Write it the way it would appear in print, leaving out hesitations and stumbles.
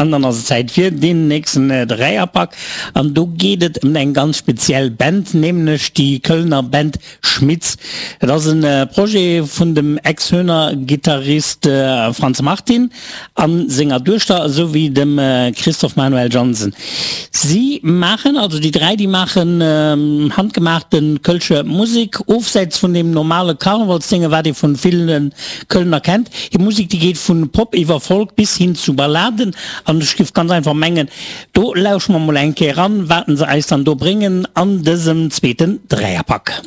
An dann ass et Zäit fir deen nächsten Dräierpak. An do geet et ëm eng ganz speziell Band, nämlech déi Kölner Band Schmitz. Et ass e Projet vun dem Ex-Höhner-Gittarist Franz Martin a senger Duechter esou wéi dem Christoph Manuel Jansen. Si maachen, also déi dräi, déi maachen handgemaachte kölsche Musek, ofsäits vun deem normale Karnevalsdénge, wat ee vu ville Kölner kennt. Hir Musek, déi geet vu Pop iwwer Folk bis hin zu Balladen. An ech géif ganz einfach mengen, do lausche mer mol eng Kéier eran, waten se eis dann do bréngen an dësem zweeten Dräierpak.